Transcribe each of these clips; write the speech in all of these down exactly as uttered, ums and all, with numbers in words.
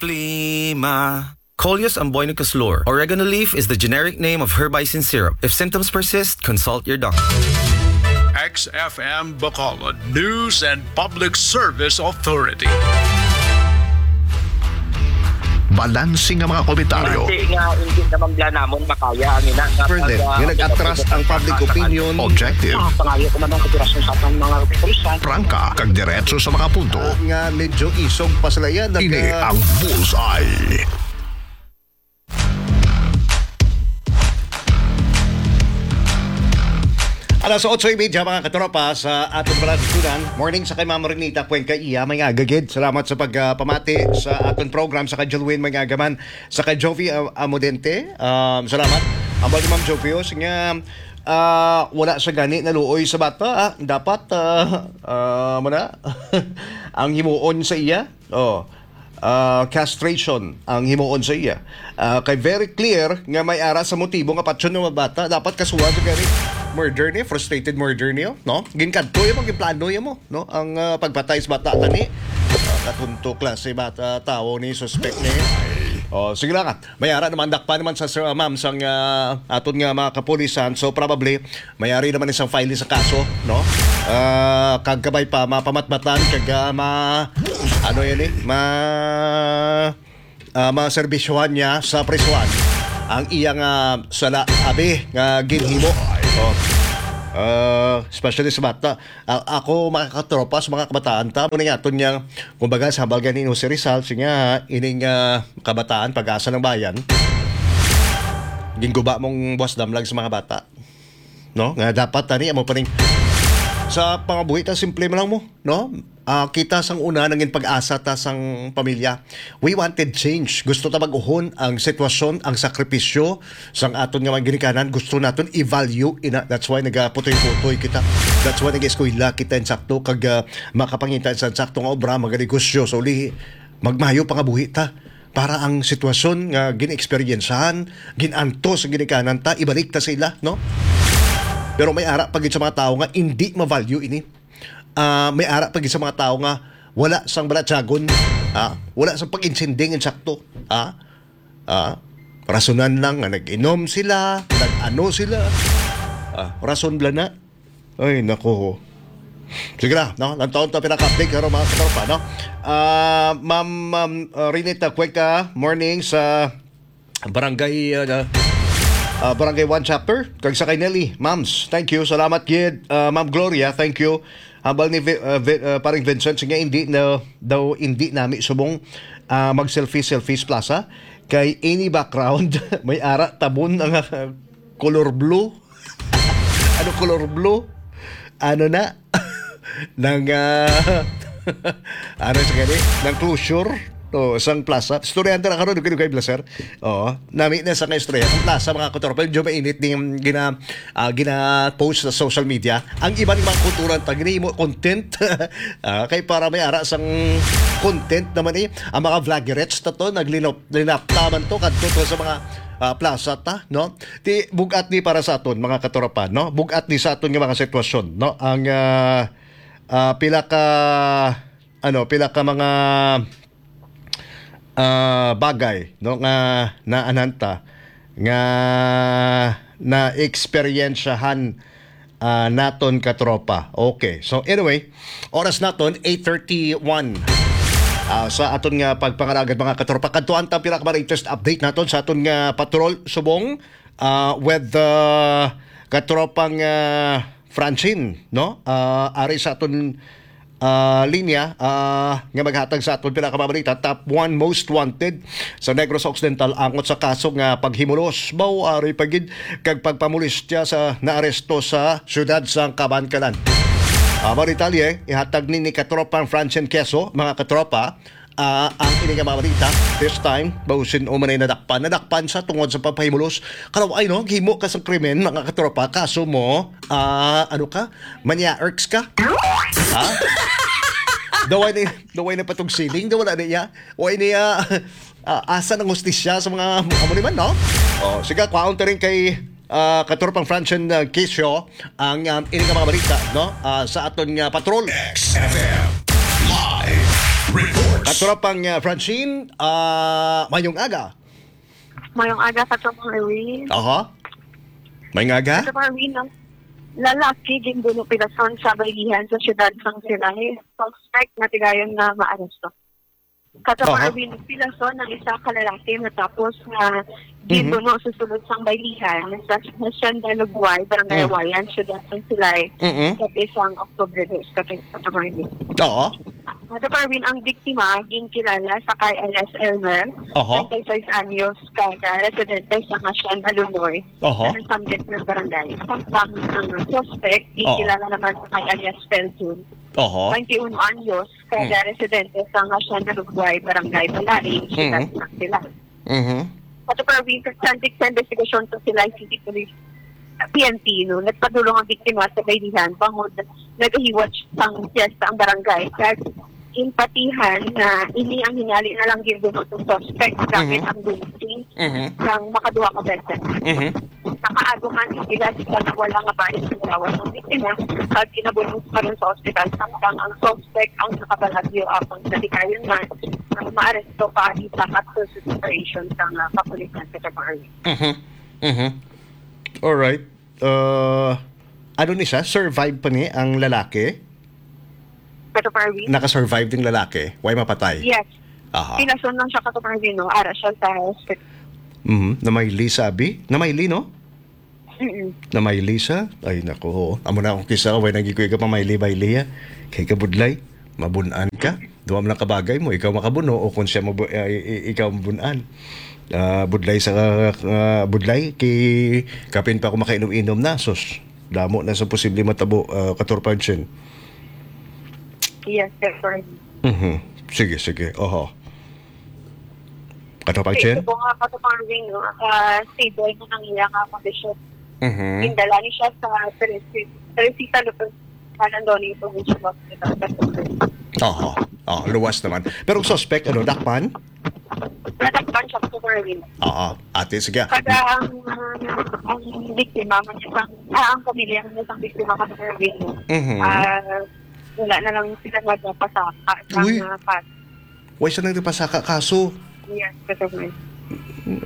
Plima. Coleus amboinocus lor. Oregano leaf is the generic name of herbicide syrup. If symptoms persist, consult your doctor. X F M Bacolod News and Public Service Authority. Balanse nga mga komentaryo. Base nga hindi naman bala namon makaya ang ina nga Further, pag, ah, nga nag-atras ang public opinion. Objective. Ah, pangayo ko man ang operasyon sa atong mga kapulisan. Prangka, kag diretso sa mga punto. Ah, nga medyo isog pa sila yan. Ini ang Bullseye. Alas otso y media, mga katropa, sa aton palatuntunan. Morning sa kay Ma'am Renita Cuenca Iya, may nga gagid. Salamat sa pagpamati sa aton program, sa kay Jolwin, may nga gaman, sa kay Jovi, uh, Amodente. Um, salamat. Ang bali, Ma'am Jovi, oh, sige nga, ah, wala sa gani naluoy sa bata, ah. Dapat, ah, ah, mo na, ang himuon sa iya. Oh. Ah, castration ang himuon sa iya. Ah, kay very clear nga may ara sa motibo nga patyon nga bata, dapat kasuhan sa gani murder ni, frustrated murder niyo, no? Ginkadto mo, ginplano mo, no? Ang, ah, pagpatay sa bata tani. Ah, katunto klase bata, tawo ni, suspect ni. Oh, sige lang, ah. May ara naman, dakpan naman sa sir, ah, ma'am, sang, ah, aton nga mga kapulisan. So, probably, may ari naman isang file sa kaso, no? Ah, kag kabay pa, mapamatbatan, kag, ah, ma-, ano yun eh? Ma-, ah, maserbisyohan niya sa prisuhan ang iyang, ah, sala, abi, nga ginhimo. Oh. Ah, especially sa bata. A-, ako, mga katropa, sa mga kabataan ta, muna nga, aton niyang, kumbaga, sa hambal ganin, Jose Rizal, siya nga, ining, ah, kabataan, pag-asa ng bayan, ginguba mong buwas damlag sa mga bata. No? Nga dapat, tani, amo pa rin. Sa pangabuhi ta, simple man lang mo, no? Ah, kita sang una, nangin pag-asa ta sang pamilya. We wanted change. Gusto ta mag-uhon ang sitwasyon, ang sakripisyo sang aton nga mga ginikanan. Gusto naton i-value ina. That's why nagaputoy-putoy kita. That's why nag-eskwela kita insakto kag, ah, makapangita sa insakto nga obra, maganegosyo. So, lihi, magmayo pangabuhi ta para ang sitwasyon nga gin-eksperyensyahan, gin-antos ang ginikanan ta, ibalik ta sa ila, no? Pero may ara pa gid sa mga tawo nga indi ma-value ini. Ah, may ara pa gid sa mga tawo nga wala sang balatyagon, ah, wala sang pag-intinding insakto, ah, ah, rasonan lang nga nag-inom sila, nag-ano sila, ah, rason bala na. Ay, nako. Sige na, no? Lantawon ta pinaka-update karon, mga katropa, no? Ah, Ma'am, Ma'am, ah, Rinita Cueca, morning sa Barangay, ah, ah, Barangay One Chapter. Kag sa kay Nelly, Ma'ams, thank you. Salamat gid, ah, Ma'am Gloria, thank you. Hambal ni Vi-, ah, Vi-, ah, Paring Vincent, sige, hindi na daw, hindi nami subong, ah, mag-selfie, selfie sa plaza. Kay any background, may ara tabon ang, ah, color blue. Ano color blue? Ano na? Nang, ah, ano sa gani? Nang closure? O, sang plaza. Istoryahan ta na karon, dugay-dugay, Blaser. Oo. Nami na sa nga istorya. Ang plaza, mga katropa, medyo mainit din yung gina-, ah, gina-post sa social media. Ang iban mga kultura, ta, ginahimo content. Ah, kay para may ara sang content naman eh. Ang mga vloggerettes na to, naglinap-, linapta man to, kadto to sa mga, ah, plaza ta, no? Ti, bugat ni para sa aton, mga katropa, no? Bugat ni sa aton nga mga sitwasyon, no? Ang, ah, ah, pila ka, ano, pila ka mga, ah, bagay, no, nga naanhan ta, nga naeksperyensyahan, ah, naton katropa. Okay. So, anyway, oras naton, eight thirty-one. Ah, sa aton nga pagpangalagad, mga katropa, kadtuan ta pila ka mga latest update naton sa aton nga patrol subong, ah, with, ah, katropang, ah, Francine, no? Ah, ari sa aton, ah, linya, ah, nga maghatag sa aton pinakabalita, top one most wanted sa Negros Occidental angot sa kaso nga paghimulos, baw, ari pa gid, kag pagpamolestya sa naaresto sa siyudad sang Kabankalan. Ah, mga detalye, ihatag ni, ni katropang Francine Queso, mga katropa, ah, ang ini nga mga balita. This time, baw sin-o man ay nadakpan. Nadakpan sa tungod sa pagpahimulos. Kalaw ay, no? Gihimo ka sa krimen, mga katropa. Kaso mo, ah, ano ka? Manya-erks ka? Ha? Daway ni, daway na patog siling, daw wala niya. O niya, ah, asa ng hustisya sa mga, amo ni man, no? Oh, sige, kwaon ta rin kay, ah, katropang Francine, ah, Queso ang, um, ini nga mga balita, no? Ah, sa aton nga patrol. X F M. Live Reports. Katropang, ah, Francine, ah, mayong aga. Mayong aga, Katropang Erwin. Aha. Mayong aga. Katropang Erwin, ang lalaki ginbuno pilason sa baylihan sa siyudad sang Silay. Suspect na tigayon na maaresto. Katropang Aha. Erwin, pilason ang isa ka lalaki matapos nga Mhm. ginbuno sa sulod sang baylihan sa Hacienda Lugway, Barangay Mm. Awayan, siyudad sang Silay, Mm-mm. sa isang Oktubre dos, Katropang Erwin. Oo. Madam Arwin, ang biktima ginkilala sa kay alias Elmer, Oho. treinta y seis anyos, kag residente sa Hacienda Lunoy, Oho. sa Samgit nga barangay. Samtang ang suspect, Oh. ginkilala naman sa kay alias Felton, Oho. twenty-one anyos, kag Mm. residente sa Hacienda Lugway, Barangay Balari, Siyudad Mm. ng Silay. Mhm. Madam Arwin, sa subject sa investigasyon sa Silay City Police, P N P, no, nagpadulong ang biktima sa baylihan bangod nagahiwat sang piyesta ang barangay. Kag ginpatihan nga ini ang hinali na lang ginbuno sang suspect gamit Mhm. ang gunting Mhm. sang makaduha ka beses. Mhm. Nakaagom ang sila sa wala nga baris sa lawas ang biktima, kag ginabunos pa rin sa ospital, samtang ang suspect ang nakabalagyo, apan sa dikayon man, ang maaresto pa ang isa ka operation sang, ah, kapulisan sa Tabarli. Mhm. Mhm. Alright. Uh, ano ni siya? Survive pa ni ang lalaki? Pero Parwin? Naka-survive ding lalaki? Way mapatay? Yes. Aha. Pilason lang siya, Kato Parwin, no? Ara siya sa hospital. Mhm. Namayli, sabi? Namayli, no? Mm-mm. Namayli siya? Ay, nako, oo. Amo na akong kisa, way nang gikuy ka pamayli-bayli, ha? Kay kabudlay, mabun-an ka. Duha man lang kabagay mo, ikaw makabuno o kung siya mabu-, ay, i-, ikaw mabun-an. Ah, budlay sa, ah, budlay, kay kapin pa ako makainom-inom na, sus. Damo na sa posible matabo, ah, Katorpag Chen. Yes, sir. Mhm. Sige, sige. Oho. Katorpag Chen? Ito po nga, Katorpag Chen, no? Ah, stable na ang iya nga kondisyon. Mhm. Indala ni siya sa Teresita, Teresita Lopez Malandoni Provincial Hospital. Oho. Oh, luwas naman. Pero ang suspect, ano, dakpan? Nadakpan siya, Katorpag Chen. Oo. Ate, sige. Kada ang, ang biktima, man isang, ah, ang pamilya ng isang biktima, Katorpag Chen, Mhm. ah, wala na lang sila nagpapasaka sa Uy. mga kaso. Way sila nagpapasaka kaso? Yes, Katorpag Chen.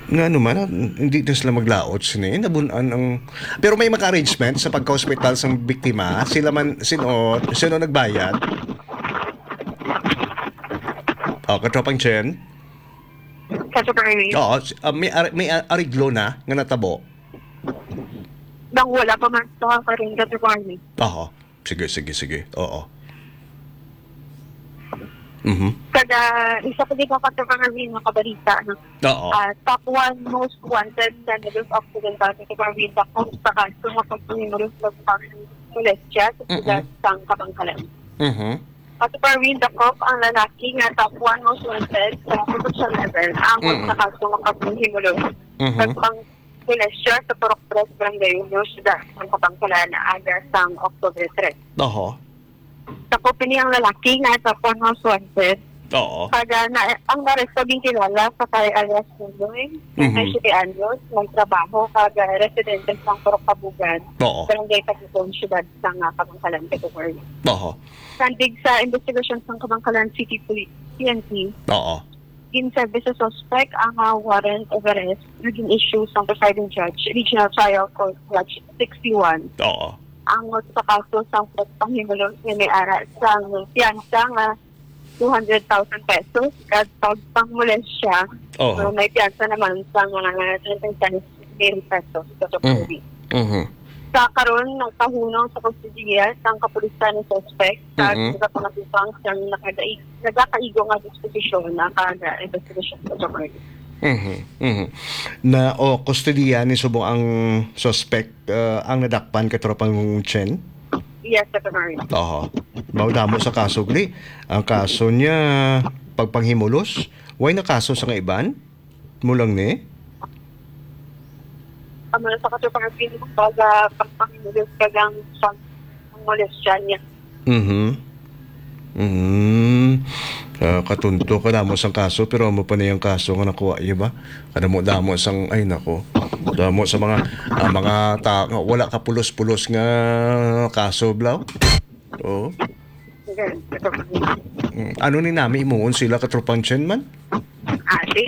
Nga naman, ah, hindi na sila maglaot sini. Nabun-an ang, pero may maka-arrangement sa pagka-hospital sa biktima? Sila man, sino, sino nagbayad? Oh, Katropang Chen? Katorpag Chen. Oo, s-, ah, may ar-, may ar-, ariglo na nga natabo? Nang wala pa man sa karon, Katorpag Chen. Oo. Sige, sige, sige. Oo. Mhm. Kada isa ko dito, Katorpag Chen, makabalita, no? Oo. Ah, top one most wanted sa Negros Occidental, Katorpag Chen, dakop sa kaso nga pagpangimulos sa pagmolestya sa Mm-mm. siyudad sang Kabangkalan. Mhm. Katorpag Chen, dakop ang lalaki nga top one most wanted sa provincial level, angot Mm-mm. sa kaso nga pagpangimulos Mhm. sa pagpang-, molestya sa Purok Tres, Barangay Uno, siyudad sang Kabangkalan, aga sang Oktubre tres. Oho. Dakop ini ang lalaki nga sa Panos Wanted. Oo. Kag, ah, na, ang naaresto ginkilala sa kay alias Nonoy, Mhm. twenty-seven anyos, nagtrabaho kag, ah, residente sang Purok Kabugan, Oo. Barangay Tagugon, siyudad sang, ah, Kabangkalan, Katorpag Chen. Oho. Sandig sa investigasyon sang Kabangkalan City Police, P N P, Oo. ginserbi sa suspect ang, ah, warrant of arrest nga gin-issue sang presiding judge, Regional Trial Court Judge sixty-one. Oo. Angot sa kaso sang pagpanghimulos nga may ara sang piyansa nga two hundred thousand pesos kag pagpangmolestya Oo. nga may piyansa naman sang, ah, thirty-five mil pesos sa Mm. Katorpag Chen. Mhm. Sa karon, nagpahunong sa kustodiya sang kapulisan ang suspect sa Mm-mm. nagapangatupang sang nakadai-, nagakaigo nga disposisyon na kada investigasyon sa Katorpag Chen. Mhm, mhm. Na, o, kustodiya ni subong ang suspect, ah, ang nadakpan, Katropang Chen? Yes, Katorpag Chen. Oho. Mao damo sa kaso, gali. Ang kaso niya, pagpanghimulos. Way na kaso sa nga iban? Mo lang ni? Amo na sa Katorpag Chen, pag, ah, pagpanghimulos kag ang pag-, ang molestya niya. Mhm. Mhm. Ah, katunto ka damo sang kaso, pero amo pa na yung kaso nga nakuha niya ba? Kadamo-damo sang, ay nako. Damo sa mga, ah, mga ta-, nga wala ka pulos-pulos nga kaso, blaw. Oo. Mm, ano ni nami himuon sila, Katropang Chen man? Ah, si,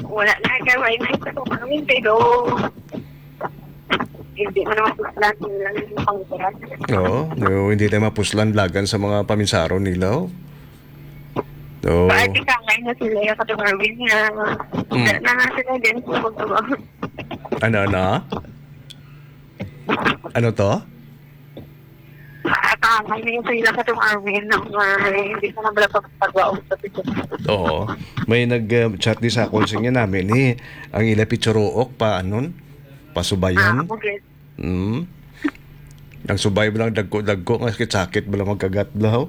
wala na kay wala na sa kumain, pero hindi mo naman sila lang yung pangkuran. Oo, no, hindi na mapuslan lagan sa mga paminsaro nila, oh. Oo. Paati ka ngayon na sila yung Katropang Arwin na Mm. na nga sila din sa pagkawa. Ano, ano? Ano to? Atangay na yung sila ka itong Arwin na nga hindi ka na pala pagpagwaon sa picture. Oo. May nag-chat di sa akon sa inyo namin, eh. Ang ila picturook pa, anon? Pasubayan. Ah, okay. Mm. Ang subay mo lang dagko-dagko, nga sakit-sakit mo lang magkagat, blaw.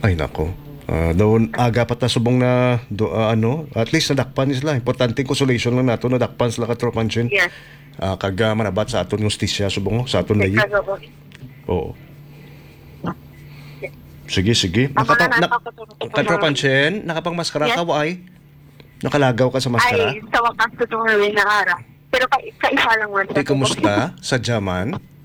Ay, nako. Ah, doon, aga pa ta subong na, do, ah, ano, at least nadakpan sila. Importante consolation lang nato, nadakpan sila, Katropang Chen. Yes. Ah, kag, ah, manabat sa aton hustisya, subong, sa aton layi. Ikaw, oo. Oo. Sige, sige. Ang Nakapa-, mga nak-, nakakatulog ko Katropang mga Chen, nakapangmaskara Yes. ka, wa ay? Nakalagaw ka sa maskara? Ay, sa wakas ko itong Halloween na ara. Pero ka, kaisa lang man. Di, kumusta? Sa Jaman?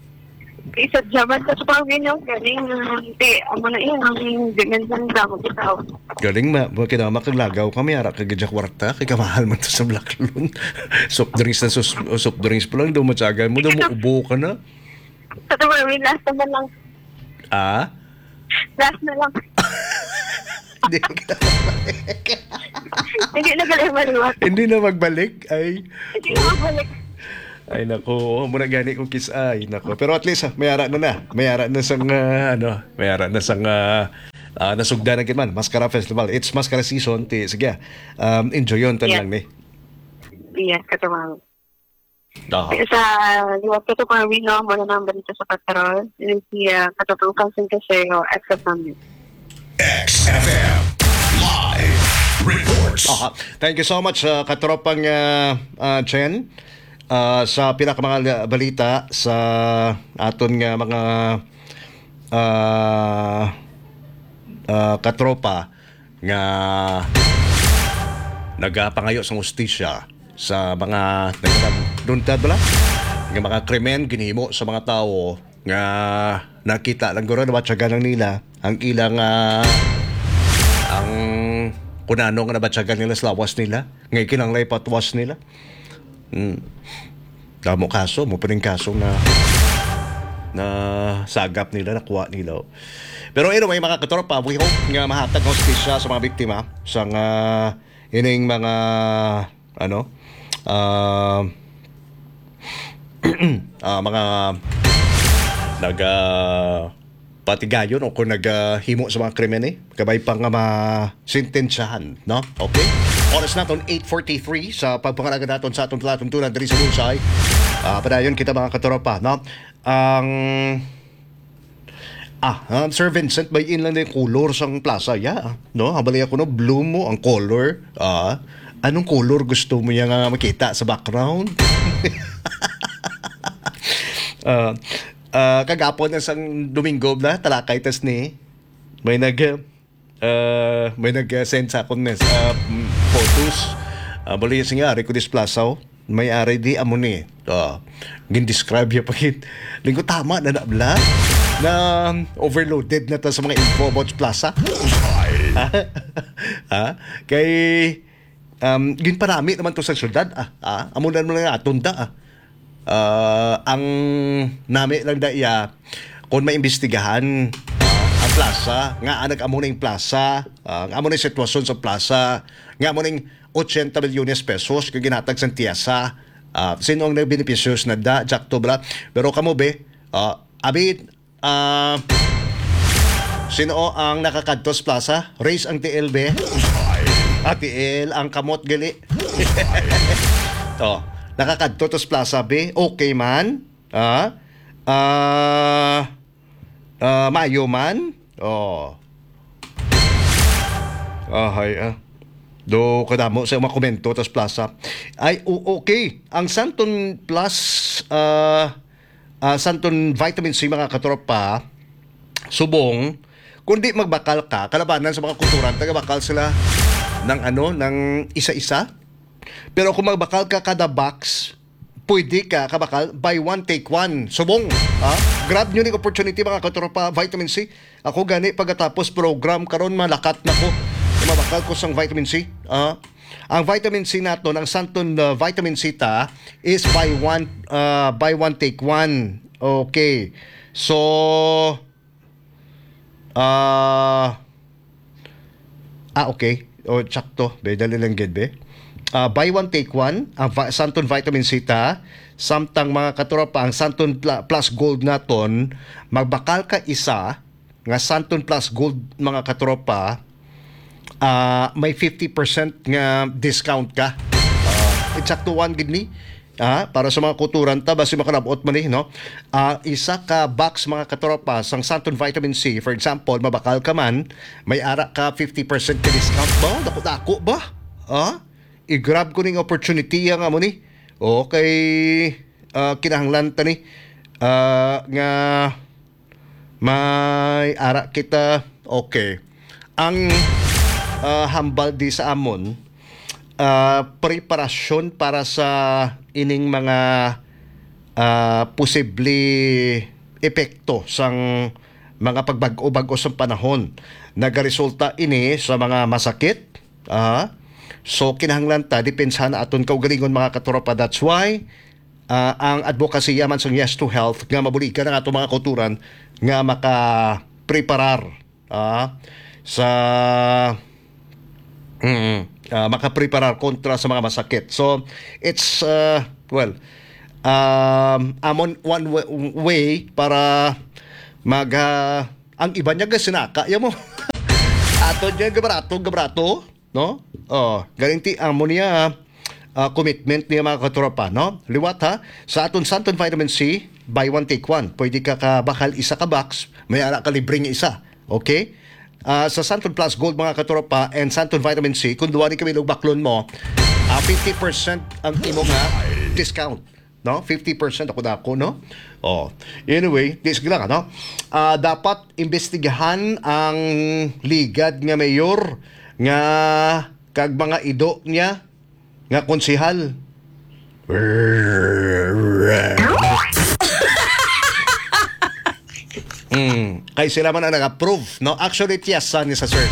Isa Jaman sa Japan, yun yung galing. Hindi, amo na yun, ang dimension sa mo, bitaw. Galing ma-, ma-, kinama kag lagaw kami, ara kag gidya kwarta, kay kamahal man to sa Black Loon. Soft drinks na sus-, soft drinks pa lang, daw matyagan mo, daw mo ubo ka na. Sa tumawi, last naman lang. Ah? Last na lang. Hindi na kita magbalik. Hindi na galing maliwat. Hindi na magbalik? Ay. Hindi na magbalik. Ay, nako. Oo, muna gani kong kiss. Ay, nako. Pero at least, ah, may ara na na. May ara na sang, ah, ano, may ara na sang, ah, ah, nasugda na gid man. Mascara Festival. It's Mascara season. Ti, sige, ah. Um, enjoy yun. Tan Yes. lang ni. Yes, katumang. Aha. Sa liwat ko to, Marvin, no? Muna na ang balita sa Patrol. Yun si, ah, Katutong Council Kaseo, X F M. X F M Live Reports. Aha. Thank you so much, ah, Katropang, ah, ah, Chen. Ah, sa pila ka mga la-, balita sa aton nga mga, ah, ah, katropa nga nagapangayo sa hustisya sa mga nagdundad bala nga mga krimen ginhimo sa mga tawo nga nakita lang guro, nabatyagan lang nila ang ilang, ah, ang kunano nga nabatyagan nila sa lawas nila, nga kinahanglan ipatwas nila. Mm. Damo kaso, mo pa ning kaso na, na sagap nila, nakuha nila. Pero anyway, mga katropa, we hope nga mahatag hustisya sa mga biktima sa nga ining mga, ano, ah, ah, mga naga patigayon o kung nagahimo sa mga krimen, eh, kabay pa nga masentensyahan, no? Okay? Oras naton, eight forty-three sa pagpangalaga naton sa atong palatuntunan diri sa Bullseye. Ah, padayon kita, mga katropa, no? Ang, ah, ah, Sir Vincent, may in lang din color sang plaza, ya, ah, no? Habali ako, no? Blue mo ang color. Ah, anong color gusto mo niya nga makita sa background? Ah, ah, kagapon na sang Domingo na, talakay tas ni. May nag, ah, may nag-send sa akon mes-, ah, mm, photos. Ah, bali, sige, ari ko displasaw. May ari di amo ni. Ah, gin-describe niya pa gid. Linggo, tama na na, bla. Na overloaded na ta sa mga info about plaza. Bullseye. Ha? Kay, um, ginparami naman to sa syudad, ah. Ah, amo na naman ang aton da, ah. Ah, ang nami lang da iya, kung maimbestigahan, ah, ang plaza, nga nag-amo na yung plaza, ah, nga amo na yung sitwasyon sa plaza, nga amo na yung ochenta milyones pesos nga ginatag sa tiasa, ah, sino ang nagbenepisyo na da, Jack Tubra? Pero kamo, be, ah, abi, ah, sino ang nakakadtos plaza? Raise ang T L, be. Ah, T L, ang kamot gali. Oh, nakakadto tos plaza, be. Okay man. Ah, ah, ah, maayo man. Oh. Ahay, ah. Do kadamo sa mga komento tas plaza. Ay, o-, okay. Ang Santon Plus, ah, ah, Santon Vitamin C, mga katropa, subong, kung di magbakal ka, kalabanan sa mga kulturan, tagabakal sila ng ano, ng isa-isa. Pero kung magbakal ka kada box, pwede ka kabakal buy one take one. Subong, ha? Grab nyo ning opportunity, mga katropa, vitamin C. Ako gani, pagkatapos program karon, malakat na ko. Mabakal ko sang vitamin C. Ah, ang vitamin C naton, ang Santon, uh, vitamin C ta is buy one, uh, buy one take one. Okay. So, ah, ah, okay. O, sakto. Be, dali lang gid, be. Ah, buy one take one, ang va-, Santon vitamin C ta, samtang, mga katropa, ang Santon Pla-, Plus Gold naton, magbakal ka isa nga Santon Plus Gold, mga katropa, ah, may fifty percent nga discount ka. Ah, eksaktuhan gid ni. Ah, para sa mga kauturan ta, basi makalabot man ni, no? Ah, isa ka box, mga katropa, sang Santon Vitamin C, for example, mabakal ka man, may ara ka fifty percent ka discount ba? Dako-dako ba? Ah? I-grab ko ning opportunity nga mo ni. Okay, ah, kinahanglan ta ni, ah, nga may ara kita. Okay. Ang, ah, hambal di sa amon, ah, preparasyon para sa ining mga, ah, posible epekto sang mga pagbag-o-bag-o sang panahon. Nagaresulta ini sa mga masakit, ah, so kinahanglan ta depensahan aton kaugalingon, mga katropa. That's why, ah, ang advokasya man sang Yes to Health nga mabuligan ang aton mga kauturan nga makapreparar, ah, sa, mm, ah, makapreparar kontra sa mga masakit. So, it's, ah, well, um, amon one wa-, way para mag, ah, ang iban niya gasinaka, ya mo. Ato niya gabarato, gabarato, no? Oh, galinti amo niya, ah, commitment niya, mga katropa, no? Liwat, ha, sa aton Santon Vitamin C, buy one take one. Pwede ka kabakal isa ka box, may ara ka libre nga isa. Okay? Ah, sa Santon Plus Gold, mga katropa, and Santon Vitamin C, kung duwa ni kami baklon mo, ah, fifty percent ang imo nga discount. No? Fifty percent ako dako, no? Oh. Anyway, di, sige lang, ano? Ah, dapat imbestigahan ang ligad nga mayor nga kag mga ido niya nga konsehal. Mm, kay sila man ang nag-approve, no? Actually, tiyasa ni sa sir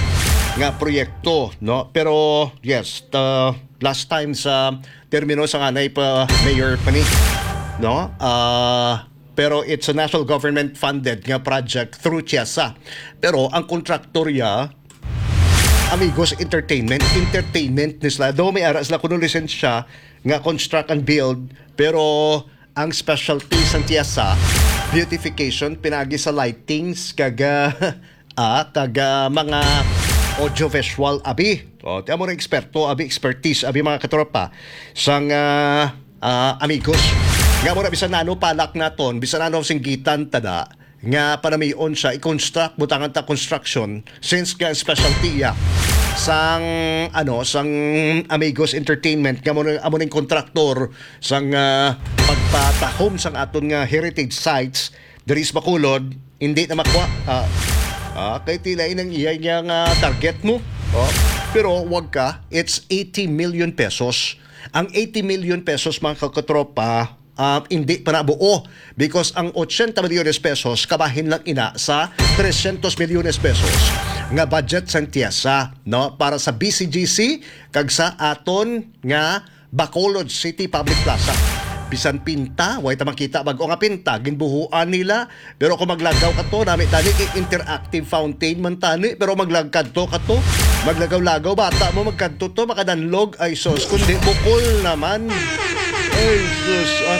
nga proyekto, no? Pero, yes, the last time sa termino sa anay pa mayor pa ni, no? Ah, pero it's a national government funded nga project through tiyasa. Pero ang kontraktor ya, Amigos Entertainment, entertainment ni sila. Daw may ara sila kuno lisensya nga construct and build, pero ang specialty sang tiyasa, beautification, pinagi sa lightings, kag, ah, ah, kag, ah, mga audiovisual abi. O, ti amo ra eksperto, abi, expertise, abi, mga katropa, sang, ah, ah, Amigos. Nga mo na, bisan ano palak naton, bisan ano singgitan tada, nga panamion siya i-construct, butangan ta construction, since nga specialty iya sang, ano, sang Amigos Entertainment, nga mo na, amo ning kontraktor sang, ah, pagpatahom sang aton nga heritage sites diri sa Bacolod, hindi na makuha. Ah, ah, kay tila inang iya niya nga target mo. Oh, pero wag ka, it's eighty million pesos. Ang eighty million pesos, mga katropa, ah, hindi pa nabuo because ang ochenta milyones pesos kabahin lang ina sa trescientos milyones pesos nga budget sang tiyasa, no, para sa B C G C kag sa aton nga Bacolod City Public Plaza. Bisan pinta, way ta makita bag-o nga pinta, ginbuhuan nila. Pero kung maglagaw ka to, nami tani kay interactive fountain man tani. Pero maglagkad to ka to, maglagaw-lagaw, bata mo, magkadto to, makadanlog. Ay, sus, kundi bukol naman. Ay, sus. Ah,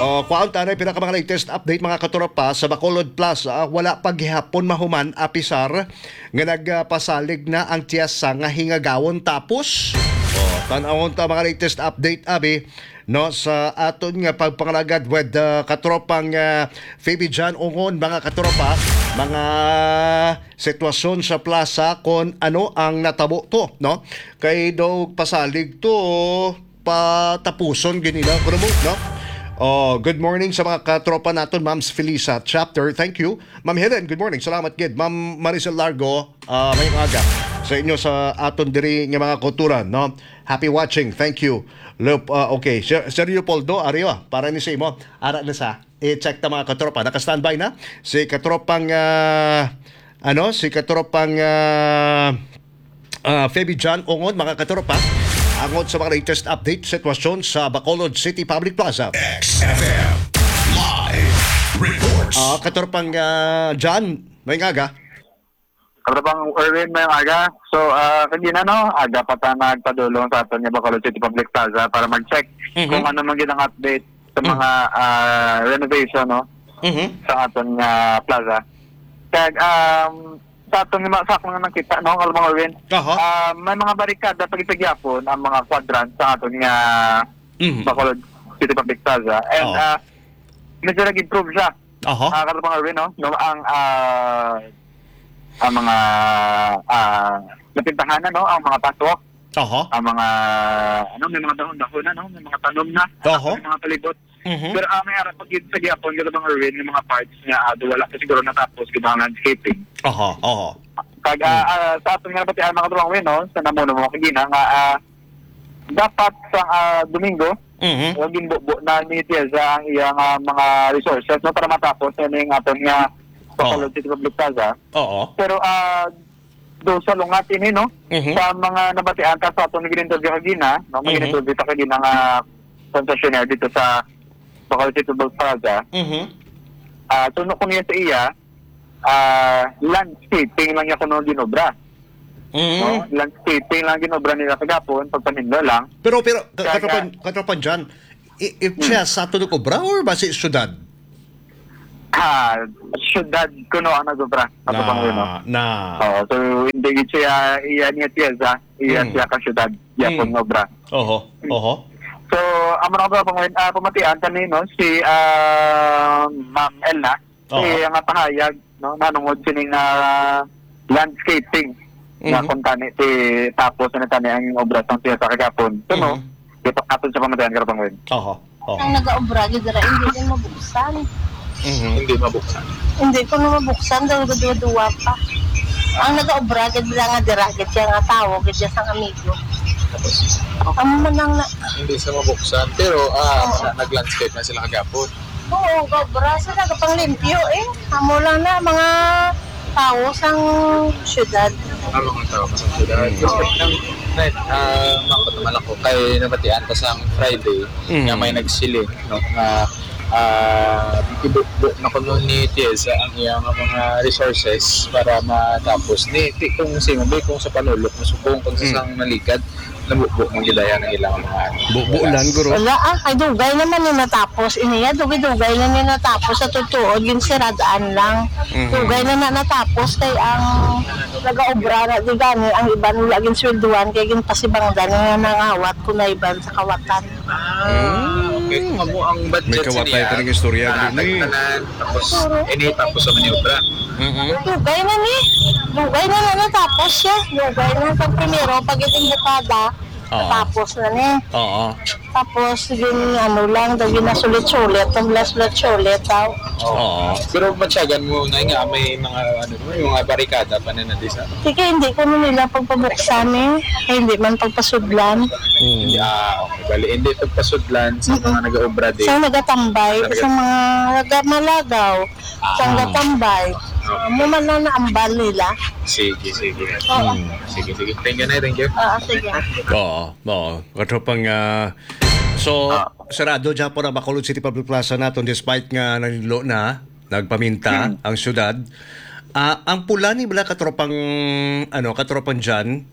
oh, kuwaon tanay, pila ka mga latest update, mga katropa, sa Bacolod Plaza. Wala pa gihapon mahuman, apisar nga nagpasalig na ang tiyasa nga hingagawon. Tapos, oh, tan-awon ta mga latest update, abi, no, sa aton nga pagpangalagad with, uh, katropang, uh, Fabi John Ungon, mga katropa, mga sitwasyon sa plaza, kung ano ang natabo to, no? Kay daw pasalig to, patapuson gid nila, kuno mo, no? Oh, good morning sa mga katropa naton, Ma'am Felisa Chapter. Thank you. Ma'am Helen, good morning. Salamat gid. Ma'am Maricel Largo, ah, mayong aga. sa inyo sa aton diri nga mga kulturan, no? Happy watching. Thank you. Leop-, ah, okay. Sir, Sir Leopoldo, ari, oh, para ni sa imo. Ara na sa. I-check ta, mga katropa. Naka-standby na si katropang, ah, ano, si katropang, ah, ah, Feby John Ongod, mga katropa. Angot sa mga latest update, sitwasyon sa Bacolod City Public Plaza. X F M Live Reports. Ah, katropang, ah, John, may aga. Katropa Erwin, may aga. So, ah, kagina, no, aga pa ta nagpadulong sa aton nga Bacolod City Public Plaza para mag-check Mhm. kung ano man gid ang update sa Mm. mga, ah, renovation, no, Mhm. sa aton nga plaza. Kag, um, sa aton nga, sa akong nakita, no, Katropa Erwin, Aha. ah, may mga barikada pa gid sa gihapon ang mga quadrant sa aton nga Mhm. Bacolod City Public Plaza. And, Oo. ah, medyo nag-improve siya. Aha. Ah, Katropa Erwin, no? No, ang, ah, ang mga, ah, napintahan na, no? Ang mga patwalk, Aha. ang mga, ano, may mga dahon-dahon na, no? May mga tanom na, Aha. may mga palibot. Mhm. Pero, ah, may ara pa gid sa gihapon, Katropa Erwin, yung mga parts nga, ah, do wala pa siguro natapos gid ang landscaping. Aha, aha. Kag, ah, Mm. ah, sa aton nga nabatian, mga Katropa Erwin, no? Sa namuno mo kagina nga, ah, dapat sa, ah, Domingo, Mhm. nga ginbubo na ni Tiesa ang iyang, ah, mga resources, no, para matapos na ning aton nga Oo. Bacolod City Public Plaza. Oo. Pero, ah, do sa lungat ini, no, Mhm. sa mga nabatian ta sa aton gin-interview kagina, no, may Mhm. gin-interview ta kagina nga concessionaire dito sa Bacolod City Public Plaza. Mhm. Ah, tuno ko niya sa iya, ah, landscaping lang niya kuno ginobra. Mm. No? Landscaping lang ginobra nila kagapon, pagpaninlo lang. Pero, pero, ka-, Kaya katropan, katropan John, i-, if Hmm. siya sa ato nag-obra or ba si syudad? Ah, syudad kuno ang nag-obra. Ato Na, pang yun, no? na. Oo, so hindi gid siya iya niya Tiesa, iya Hmm. siya ka syudad, iya Hmm. pong obra. Oho, Hmm. oho. So, ang mga pang, ah, pamatian kanino si, ah, Ma'am Elna, Oo. Iya nga pahayag, no, nanungod sining, ah, landscaping nga Mhm. kung tani ti tapos na tani ang obra sang siya sa kagapon. So, no, Mhm. ito aton sa pamatayan, Katropa Erwin. Oho, oho. Ang nagaobra gid dira, hindi din mabuksan. Mhm. Hindi mabuksan. Hindi ko na mabuksan, daw duwa-duwa pa. Ang nagaobra gid dira nga dira gid siya nga tawo gid siya sang amigo. Tapos, Amo man lang na. Hindi sa mabuksan, pero, ah, Oo. na-, nag-landscape na sila kagapon. Oo, obra sila, nagapanglimpyo, eh. Amo lang na, mga tawo sang syudad. Ang mga tawo sa syudad. Mm. Respect lang, Fred. Ah, maabot naman ako kay nabatian ko sang Friday Mm. nga may nagsiling, no, nga, ah, ibubo na kuno ni Tiesa ang iyang mga resources para matapos ni, ti-, kung sino, may kung sa Panulok, masubong, kung sa Mm. sang Naligad. Nabubo man gid aya ang ilang mga ano. Bubo lang, guro. Wala, ah, kay dugay naman ni natapos. Iniya, dugay-dugay na ni natapos sa tutuod, ginsirad-an lang. Mhm. Dugay na na natapos kay ang nagaobra na di gani, ang iban wala ginswelduhan kay ginpasibangdan nga nangawat kunayban sa kawatan. Ah, okay. Mm. Kung amo ang budget May kawatay siya, pa ning istorya, ah, gini. Tanan, tapos, Puro. Ini, tapos sa maniobra. Mm-mm. Dugay na ni. Dugay na na natapos siya. Dugay na. Pag primero, pag iting bukada, Oo. Tapos na ni. Oo. Tapos, gin, ano lang, daw ginasulit-sulit. Ang sulit-sulit daw. Oo. Oo. Pero matyagan mo na nga, may mga, ano, may mga barikada pa na nandisa. Sige, hindi ko na nila pagpabuksan eh. Kaya hindi man pagpasudlan. Mm. Ah, okay. Bali, hindi pagpasudlan sa Mm-mm. mga nag-aobra din. Sa nagatambay, Sa nagat- sa mga naga-, malagaw. Ah. Sang gatambay. Okay. Amo man lang naambal nila. Sige, sige. Oo. Hmm. Sige, sige. Thank you, Nay. Thank you. Oo, sige. Oo, oo. Katropang, ah, so, Ah. sarado dyan po na Bacolod City Public Plaza naton despite nga nanilo na, nagpaminta Hmm. ang syudad. Ah, ang pula ni bala katropang, ano, katropang Jan,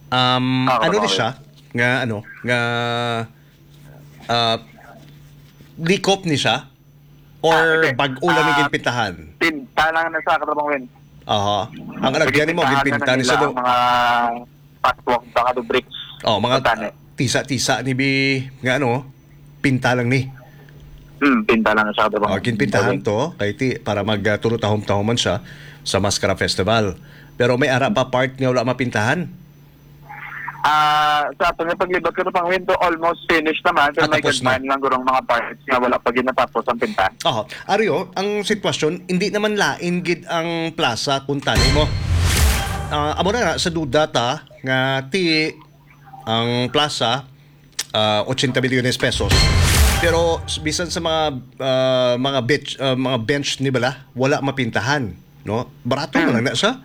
um, Ah, ano ni katropang siya? Nga, ano, nga, ah, likop ni siya? Or Ah, hindi. bag-o lang ni Ah, ginpintahan? Pinta lang na sa katropang Win. Aha. Ang alagyan mo, ginpintahan na ginpinta ni nila sa do-, ang mga patwalk, baka do bricks. Oh, mga Patani. tisa-tisa ni bi, nga ano, pinta lang ni. Hmm, pinta lang sa katropang Ah, Win. ginpintahan Okay. to, kay ti, para mag, ah, tulo tahom-tahom man siya sa Mascara Festival. Pero may ara pa part nga wala mapintahan. Ah, sa aton nga paglibot, katropang Win, to almost finished naman. Pero Ah, may tapos na. gagmay lang gurong mga parts nga wala pa ginatapos ang pinta. Oho. Ario, ang sitwasyon, hindi naman lain gid ang plaza kung tani mo. Ah, amo na nga, sa duda ta nga ti ang plaza, ah, ochenta milyones pesos. Pero s-, bisan sa mga, ah, mga bench, ah, mga bench ni bala, wala mapintahan, no? Barato man lang na siya.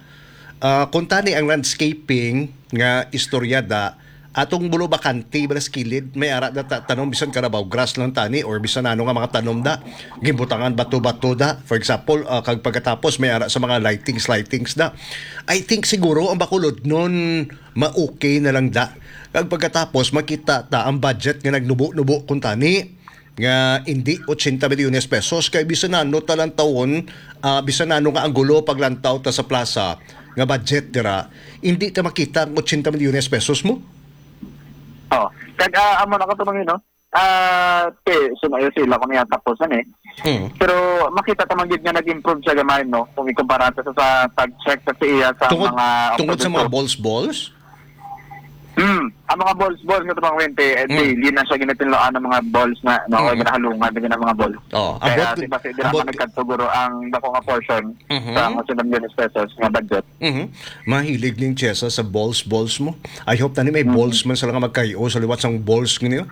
Ah, kung tani ang landscaping nga istorya da, atong bulo bakante bala sa kilid, may ara da ta-, tanom bisan carabao grass lang tani or bisan ano nga mga tanom da. Ginbutangan bato-bato da. For example, ah, kag pagkatapos may ara sa mga lightings, lightings da. I think siguro ang Bacolod nun ma-okay na lang da. Kag pagkatapos makita ta ang budget nga nagnubo-nubo kuntani nga indi ochenta milyones pesos kay bisan ano ta lang tawon, ah, bisan ano nga anggulo paglantaw ta sa plaza nga budget dira, indi ta makita ang ochenta milyones pesos mo. Oh, kag ah, amo na ko to, no? Ah, te, sumayo sila kung iya tapos na eh. Mm. Pero makita ta man gid nga nag-improve siya gamay, no? Kung ikumpara ta sa, sa pag-check sa iya sa Tungod, mga tungod sa mga balls, balls? Hmm, ang mga balls, balls nga tumang wente, eh, Mm. daily na siya ginatinloan ng mga balls na, no? Mm. Ginahalungan na gina mga balls. Oh, ang Kaya buhat, si Basi, di ang naman buhat nagkatuguro ang dako nga portion Mhm. sa mga sundang milyones pesos nga budget. Mhm. Mahilig ning Chesa sa balls, balls mo. I hope tani may Mhm. balls man sila nga magkayo sa liwat sang balls nga niyo.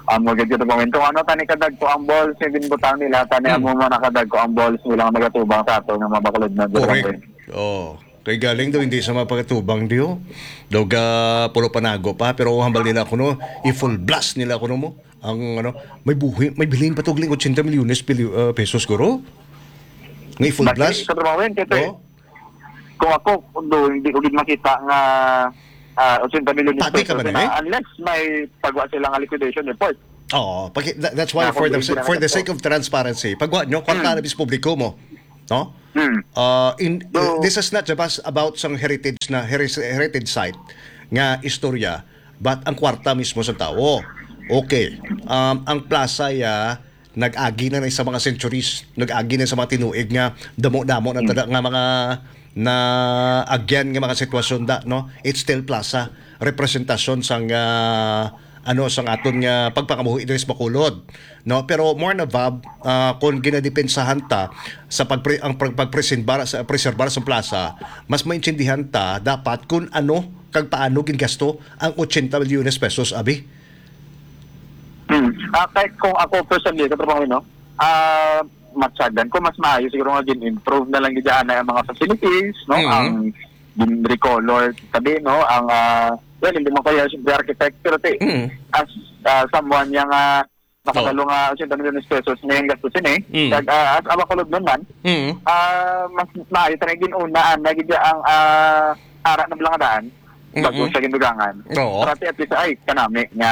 Amo gid ito, Pangwin. Kung ano, tani kadagko ang balls nga ginbutang nila, tani Hmm. amo man nakadagko ang balls nila nga magatubang sa ato nga mga Bacolod na Correct. Durangoy. Oh. Kay galing daw hindi sa mapagatubang diyo. Daw ga pulo panago pa, pero hambal nila kuno, i-full blast nila kuno mo. Ang ano, may buhi, may bilhin pa tugling ochenta milyones pilyo-, ah, pesos guro. Nga i-full Basi, blast. Sa trabaho yan, kaya Oh. kung ako, kung doon, hindi ko gid makita nga, ah, ochenta milyones Pati ka pesos ba na na, eh? Unless may pagwa sila nga liquidation report. Oo, paki-, tha-, that's why Nga for kung the, hindi na for the nagkatao. sake of transparency, pagwa nyo, kwarta Hmm. na bis publiko mo, no? Hmm. Uh, in, So this is not just about sang heritage na, heri-, heritage site nga istorya, but ang kwarta mismo sa tawo. Okay. Um, ang plaza ya, nag-agi na, na sa mga centuries, nag-agi na sa mga tinuig nga damo-damo na Hmm. tada nga mga naagyan nga mga sitwasyon da, no? It's still plaza, representasyon sang, ah, ano, sang aton nga pagpangabuhi diri sa Bacolod, no? Pero more na, Vab, ah, kung ginadepensahan ta sa pagpre-, ang pag-, pagpreserbar, sa preserbar sa plaza, mas maintindihan ta dapat kung ano kag paano gingasto ang ochenta milyones pesos, abi. Hmm. Ah, kahit kung ako personally, katrabaho, no? Ah, matsagdan ko, mas maayo siguro nga gin-improve na lang gid ana ang mga facilities, no? Mhm. Ang gin-recolor, sabi, no? Ang, ah, well, hindi man kaya siyempre architect, pero ti-, Mhm. as, ah, someone yang, ah, nakabalo Oo. nga ochenta milyones pesos na yung gastusin eh. Mm. Kag, ah, as a Bacolodnon man, Mm. ah, mas maayo talaga gin-una, ana gid ang, ah, ara na lang daan. Bago Mm-mm. siya gindugangan. Oo. Para ti at least, ay, kanami nga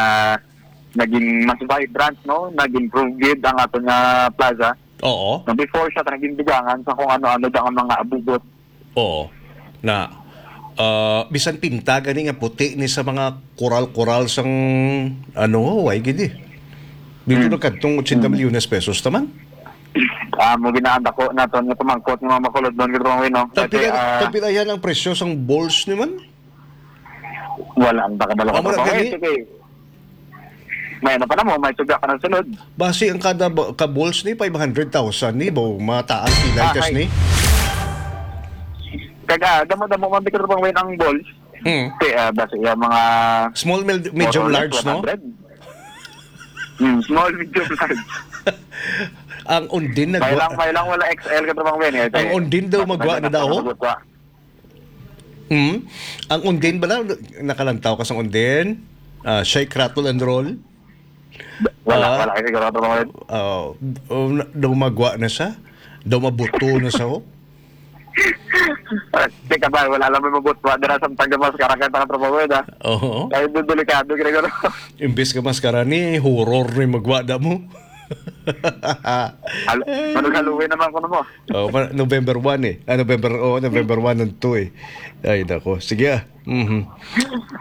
naging mas vibrant, no? Nag-improve gid ang aton nga plaza. Oo. Na before siya, naging dugangan sa kung ano-ano dang mga abubot. Oo. Na, ah, bisan pinta gani nga puti ni sa mga koral-koral sang, ano, way gid eh. Dito Hmm. na kadtong ochenta Hmm. milyones pesos taman. Ah, mo ginaanda ko naton nga pamangkot nga mga makulod doon, gid, Pangwin, no? Kasi, Tagpila, ah, tagpila yan ang presyo sang balls ni man? Wala ang nakabalo ko Amo na pa, gani? eh, sige. May ano pa na mo, may suga ka ng sunod. Basi ang kada ba-, ka balls ni five hundred thousand ni, bo, mataas kilay Ah, kas hi. ni. Kaga, damo-damo man, Victor, Pangwin, ang balls. Hmm. Kaya, ah, basi yung mga Small, mil-, medium, more or less large, no? one hundred. Hmm, small, medium, large. Ang undin May nagwa- lang, may lang wala X L ka, Pangwin, eh. Ang undin daw Mas magwa na nagwa daw? na magwa. Hmm? Ang undin bala, nakalantaw ka sa undin? Ah, shake, rattle, and roll? Wala, Ah. wala kasi sigurado ko ngayon. Ah, oh, na-, daw magwa na siya? Daw mabuto na siya, oh? Ah, di ka ba, wala lang may mabuto. Dira sa Tanggamas, karakan, tanga trabaho yun, ah. Oo. Kaya doon delikado, ginagano. Imbis ka maskara ni, horror ni magwa da mo. Hal-, manong Halloween naman ko na mo. Oh, pa-, November one eh. Ah, November, oh, November one and two eh. Ay, nako. Sige, ah. Mhm.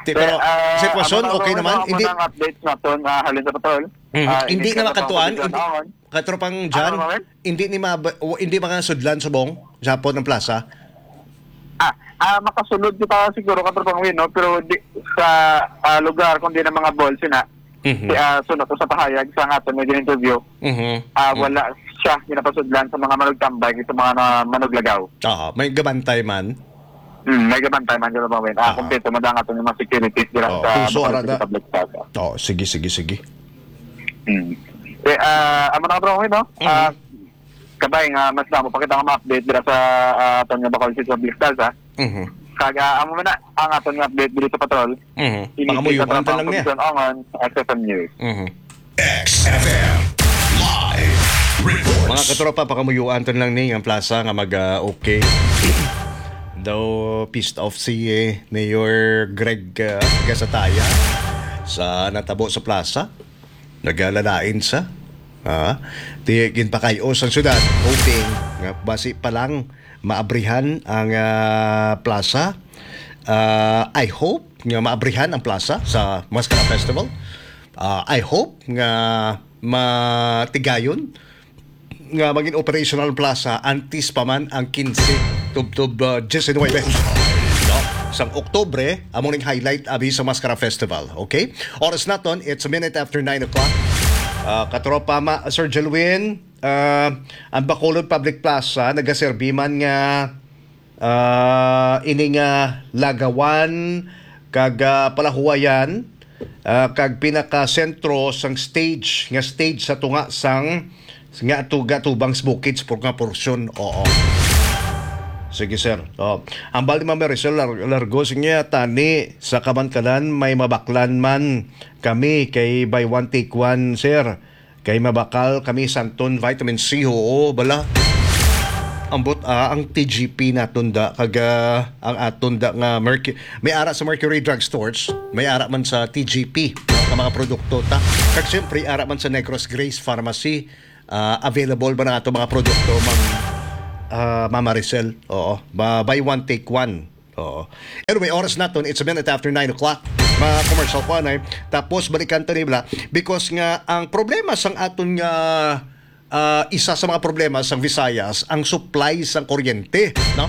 Ti-, Sir, pero, ah, sitwasyon, amo na okay ako, naman? amo Hindi, na ang updates naton, ah, halin sa patrol. Mhm. Ah, Hindi hindi na ka makantuan? na Hindi, ako. Katropang Ano John, naman? Hindi ni ma-, o, hindi mga sudlan subong, Japon ang plaza? Ah, ah, makasulod kita siguro, Katropang Win, no? Pero di, sa, ah, lugar, kung di na mga balls, yun na. Mhm. Si, ah, sunod ko sa pahayag sa nga aton nga interview, Mhm. ah, Mhm. wala siya ginapasudlan sa mga manugtambay, sa mga na-, manuglagaw. Oo, may gabantay man. Hmm, may gabantay man dyan, Bawin. Ah, Ah. Kompleto man ang aton yung mga security dira Oh, sa puso, Bacolod ara City na. Public Plaza. Oh, sige, sige, sige. Hmm. Eh, ah, amo na, bro, no? Mhm. Ah, kabay nga mas damo pa kita nga ma-update dira sa, ah, aton nga Bacolod City Public Plaza. Mhm. Kag, ah, amo man na ang aton nga update diri sa patrol. Mhm. Ini Pakamuyuan kita ta lang niya. Pagkakita angon, X F M News. Mhm. X F M live report. Mga katropa, pakamuyuan ta lang ni ang plaza nga mag, ah, okay. Daw pissed off si, eh, Mayor Greg, ah, Gasataya sa natabo sa plaza. Nagalalain sa, ah, di ginpakayos ang syudad, hoping nga basi pa lang maabrihan ang, ah, plaza. Ah, I hope nga maabrihan ang plaza sa Mascara Festival. Ah, I hope nga matigayon nga maging operational ang plaza antes pa man ang kinse tubtob, ah, diecinuebe, no? Sang Oktubre, amo ning highlight abi sa Mascara Festival, okay? Oras naton, it's a minute after nine o'clock. Ah, katropa, ma-, Sir Jelwin, ah, ang Bacolod Public Plaza nagaserbi man nga, ah, ini nga lagawan kag, ah, palahuwayan, ah, kag pinakasentro sang stage, nga stage sa tunga sang, nga tu-, gatubang sa bukid sa por-, nga porsyon. Oo. Sige, sir. Oh. Ang bali, Ma'am Maricel, lar-, largo, sige, tani sa kamankalan, may mabaklan man kami kay buy one take one, sir. Kay mabakal kami santon vitamin C, oo, bala. Ambot, ah, ang T G P naton da, kag, ah, ang aton da nga Mercu-, may ara sa Mercury Drug Stores, may ara man sa T G P, no, nga mga produkto ta. Kag siyempre, ara man sa Negros Grace Pharmacy, ah, available ba na ato mga produkto, Ma'am, ah, Ma'am Maricel? Oo, ba, buy one, take one. Oo. Anyway, oras naton, it's a minute after nine o'clock. Mga commercial ko, anay. Tapos, balikan ta ni bala. Because nga, ang problema sang aton nga, ah, isa sa mga problema sang Visayas, ang supply sang kuryente, no?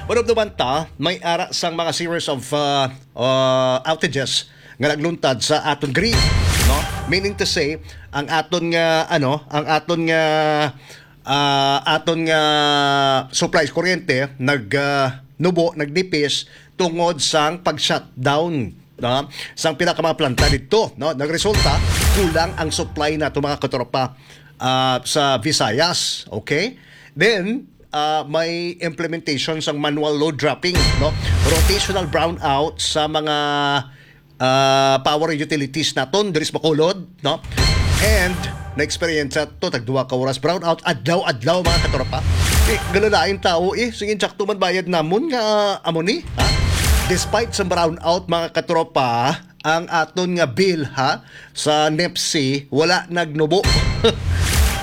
One of the banta, may ara sang mga series of, ah, ah, outages nga nagluntad sa aton grid, no? Meaning to say, ang aton nga, ano, ang aton nga ah, aton nga supply sa kuryente nag, ah, nubo, nagdipis tungod sang pag-shutdown, no, sang pila ka mga planta didto, no? Nagresulta, kulang ang supply nato, mga katropa, ah, sa Visayas, okay? Then, ah, may implementation sang manual load dropping, no? Rotational brownout sa mga ah, power utilities naton diri sa Bacolod, no? And na-experience to tag duha ka oras brownout adlaw-adlaw, mga katropa. Eh, galalain tao, eh, sige, sakto man bayad namon nga amo ni, ha? Despite sa brownout, mga katropa, ang aton nga bill, ha, sa NEPC, wala nagnubo.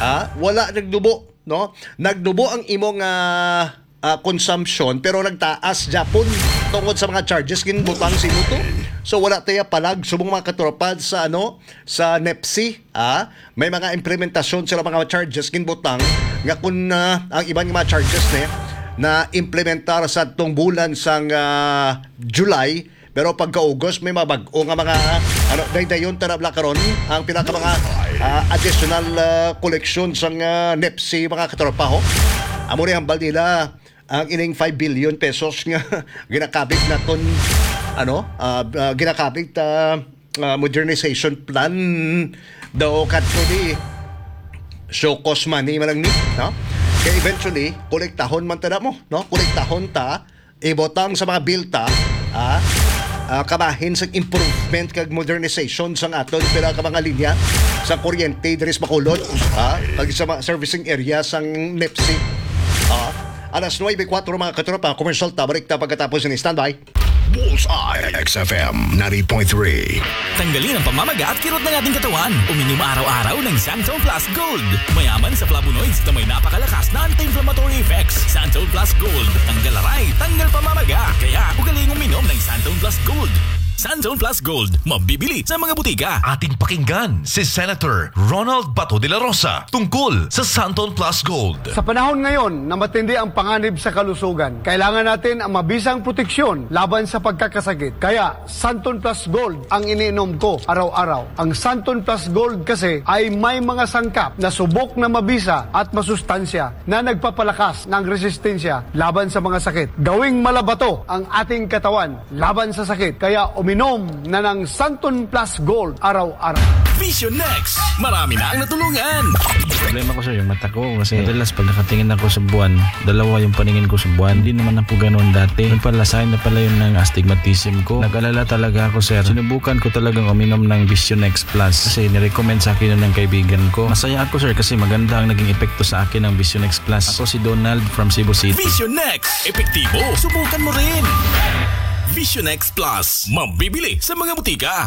Ha? Wala nagnubo, no? Nagnubo ang imong, ah, ah, consumption, pero nagtaas gyapon tungod sa mga charges ginbutang sa imo to. So, wala tayo palag, subong, mga katropa, sa, ano, sa NEPC, ah, may mga implementasyon sila, mga charges ginbutang nga kung, ah, ang iban nga mga charges ni na implementar sa tong bulan sang, ah, July, pero pagkaugos, may mga bag-o nga mga, ano, daydayon ta na bala karon ang pila ka mga, ah, additional, ah, collection sang, ah, NEPC, mga katropa, ho. Amo ni hambal nila ang ining five billion pesos nga ginakabig naton, ano, ah, ah, ginakabig ta, ah, modernization plan daw kadto di show cause money man lang ni, no? Kay eventually, kolektahon man ta na mo, no? Kolektahon ta, ibutang sa mga bilta, ah, ah, kabahin sa improvement kag modernization sang aton pila ka mga linya sa kuryente diri sa Bacolod, ah, kag sa mga servicing area sang NEPC. Ah, alas nuebe kuwatro, mga katropa, commercial ta, balik ta pagkatapos ni standby. Bullseye, X F M ninety point three. Tanggalin ang pamamaga at kirot ng ating katawan. Uminom araw-araw ng Santon Plus Gold. Mayaman sa flavonoids na may napakalakas na anti-inflammatory effects. Santon Plus Gold. Tanggal aray, tanggal pamamaga. Kaya, ugaling uminom ng Santon Plus Gold. Santon Plus Gold, mabibili sa mga butika. Ating pakinggan si Senator Ronald Bato de la Rosa tungkol sa Santon Plus Gold. Sa panahon ngayon na matindi ang panganib sa kalusugan, kailangan natin ang mabisang proteksyon laban sa pagkakasakit. Kaya, Santon Plus Gold ang iniinom ko araw-araw. Ang Santon Plus Gold kasi ay may mga sangkap na subok na mabisa at masustansya na nagpapalakas ng resistensya laban sa mga sakit. Gawing malabato ang ating katawan laban sa sakit. Kaya uminom na ng Santon Plus Gold araw-araw. Vision X, marami na ang natulungan. Problema ko, sir, yung mata ko. Kasi madalas pag nakatingin ako sa buwan, dalawa yung paningin ko sa buwan. Hindi naman ako ganun dati. Yung pala, sign na pala yun ng astigmatism ko. Nag-alala talaga ako, sir. Sinubukan ko talagang uminom ng Vision X Plus kasi nirecommend sa akin yun ng kaibigan ko. Masaya ako, sir, kasi maganda ang naging epekto sa akin ng Vision X Plus. Ako si Donald from Cebu City. Vision X, epektibo. Subukan mo rin. Vision X Plus, mabibili sa mga butika.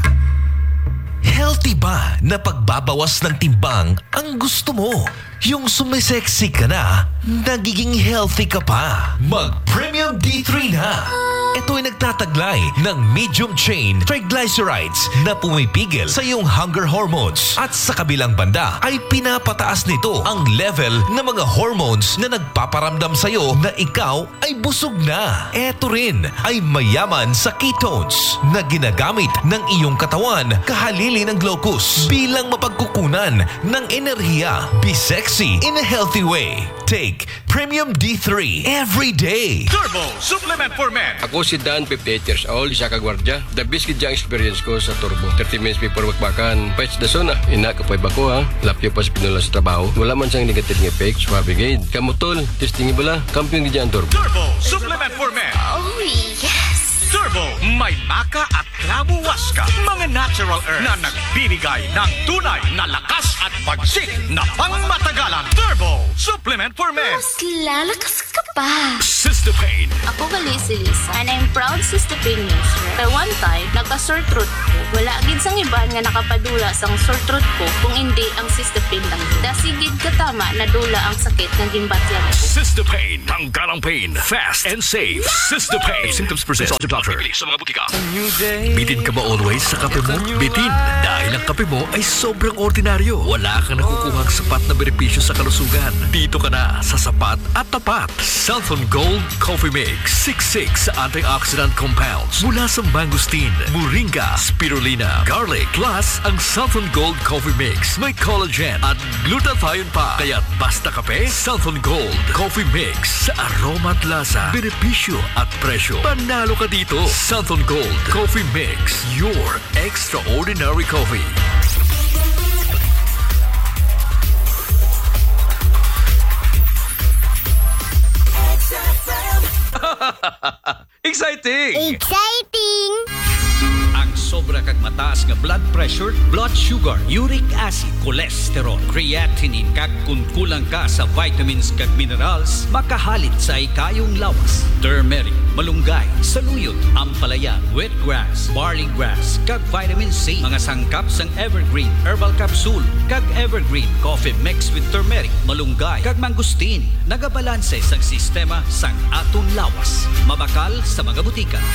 Healthy ba na pagbabawas ng timbang ang gusto mo? Yung sumisexy ka na, nagiging healthy ka pa. Mag Premium D three na. Ito'y nagtataglay ng medium chain triglycerides na pumipigil sa iyong hunger hormones at sa kabilang banda ay pinapataas nito ang level ng mga hormones na nagpaparamdam sa iyo na ikaw ay busog na. Eto rin ay mayaman sa ketones na ginagamit ng iyong katawan kahalili ng glucose bilang mapagkukunan ng enerhiya. Be sexy in a healthy way. Take Premium D three every day. Turbo Supplement for Men. Ako si Dan, fifty-eight years old, isa ka gwardiya. The best gid ang experience ko sa Turbo. Thirty minutes before bakbakan, pets the zone ah. Ina, kapoy ba ko ha? Lapyo pa sa pinula sa trabaho. Wala man siyang negative nga effect. Suabe gid. Kamo tol, testing bala. Kampiyon gid ang Turbo. Turbo Supplement for Men. Oh, yes. Turbo, may maka at klabuwas ka. Mga natural herbs na nagbibigay ng tunay na lakas at pagsik na pangmatagalan. Turbo Supplement for Men. Mas lalakas ka pa. Sister Pain. Ako gali si Lisa, and I'm proud Sister Pain user. Kay one time, nagka-sore throat ko. Wala gid sang iban nga nakapadula sang sore throat ko kung indi ang Sister Pain lang. Dasi gid katama nadula ang sakit nga ginbatyag ko. Sister Pain. Tanggal ang pain. Fast and safe. Sister Pain. If symptoms persist, consult your doctor. Bibili sa mga butika. Bitin ka ba always sa kape mo? Bitin, dahil ang kape mo ay sobrang ordinaryo. Wala kang nakukuhang sapat na benepisyo sa kalusugan. Dito ka na sa sapat at tapat. Santhon Gold Coffee Mix. Siksik sa antioxidant compounds mula sa mangosteen, moringa, spirulina, garlic. Plus, ang Santhon Gold Coffee Mix may collagen at glutathione pa. Kaya't basta kape, Santhon Gold Coffee Mix. Sa aroma at lasa, benepisyo at presyo, panalo ka dito. Santhon Gold Coffee Mix, your extraordinary coffee. Exciting! Exciting! Ang sobra kag mataas nga blood pressure, blood sugar, uric acid, cholesterol, creatinine, kag kun kulang ka sa vitamins kag minerals, makahalit sa hikayong lawas. Turmeric, malunggay, saluyot, ampalaya, wheatgrass, barley grass, kag vitamin C. Mga sangkap sang Evergreen Herbal Capsule kag Evergreen Coffee Mix with Turmeric, Malunggay, kag Mangosteen. Nagabalanse sang sistema sang aton lawas. Mabakal sa mga butika.